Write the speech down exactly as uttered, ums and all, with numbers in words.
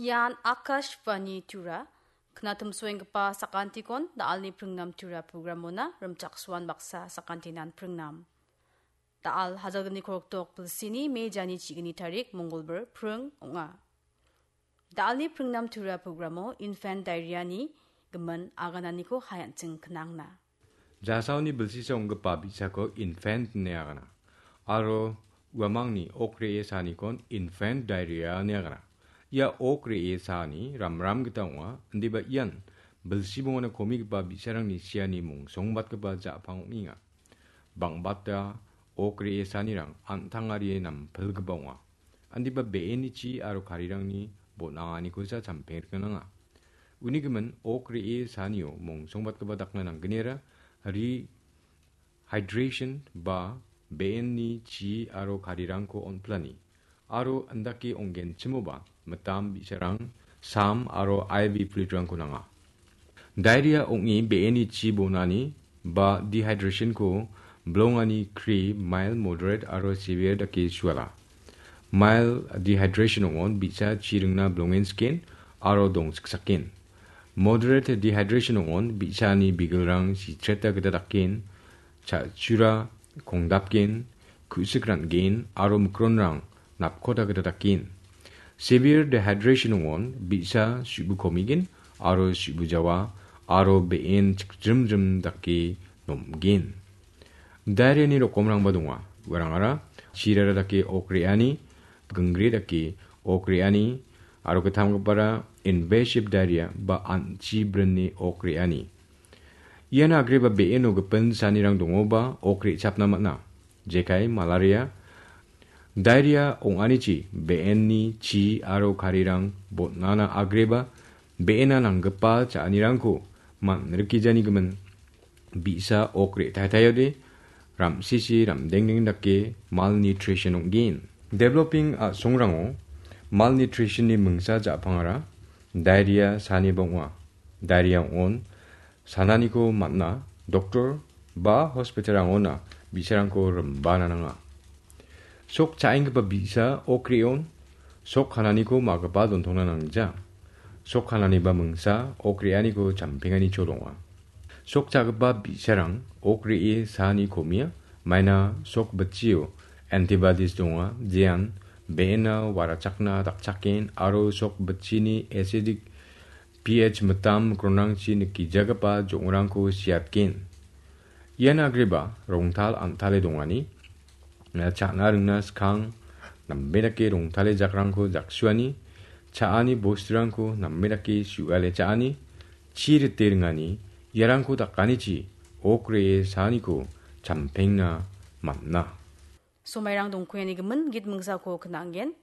Ian Akashvani Tura, knatumsoenggipa sakantikon da·alni pringnam Tura programona rimchaksoan baksa sakantinan pringnam. Da·al hajalgni korokdok bilsini mejani chigni tarik Mongolbar pring ong·a. Da·alni pringnam Tura programo infant diarrhea-ni gimin agananiko hayanching knangna. Jasaoni bilsisa ong·gipa bi·sako infant ine agana. Aro uamangni ok re·e sanikon infant diarrhea ine agana. Ia ok re·e saani ramram gita ong·a, indiba ian bilsi bongona komigipa bi·sarangni siani mongsongbatgipa ja·pang ong·enga. Bang·bata ok re·e saanirang an·tangarie nampilgipa ong·a. Indiba be·eni chi aro karirangni bon·anganikosa champeng rikna nanga. Uni gimin ok re·e saanio mongsongbatgipa dakna nanggnira rehydration ba be·eni chi aro karirangko on·plani. Aro indake ong·genchimoba mitam bi·sarang sam aro I V fluid-rangko nanga. Diarrhea ong·e be·eni chi bonani ba dehydration-ko bilongani kri mild, moderate aro severe dake suala. Mild dehydration ong·on bi·sa chi ringna bilongensiken aro dongsiksaken. Moderate dehydration ong·on bi·sani bigilrang sitreta gita daken, cha·chura kongdapgen, ku·sik ran·gen aro mikronrang napkota gita daken. Severe dehydration ong·on bi·sa su·bu komigen aro su·bu jawa aro be·en chikjrimjrim dake nomgen. Diarrhea-ni rokomrangba donga. Uarangara chirara dake ok re·ani, gingre dake ok re·ani, aro gittamgipara invasive diarrhea ba an·chi brinni ok re·ani. Ian agreba be·eno gipin sanirang dongoba ok re·chapna man·a. Jekai malaria, diarrhea ong·anichi be·enni chi aro karirang botnana agreba be·ena nanggipa cha·anirangko man·rikgijani gimin bi·sa ok re·taitaiode ramsisi ramdengdeng dake malnutrition ong·gen. Developing a·songrango malnutrition-ni mingsa ja·pangara diarrhea saniba ong·a. Diarrhea ong·on sananiko man·a, doktor ba hospital-rangona bi·sarangko rimbana nanga. Sok cha·enggipa bi·sa ok re·on, sok kananiko ma·gipa dontongna nangja. Sok kananiba mingsa ok re·aniko champengani chol ong·a. Sok cha·gipa bi·sarang ok re·e saani komia, maina sok bitchio antibodies donga, jean be·ena warachakna dakchaken aro sok bitchini acidic P H mitam mikronrangchi nikijagipa jong·rangko siatgen. Ian agreba rongtal an·tale dongani, cha·na ringna skang, nambe dake rongtale jakrangko jaksuani, cha·ani bosturangko nambe dake su·ale cha·ani, chi rite ringani, iarangko dakanichi ok re·e saaniko champengna man·a. Somairang dongkuyani gimin git mingsako knanggen.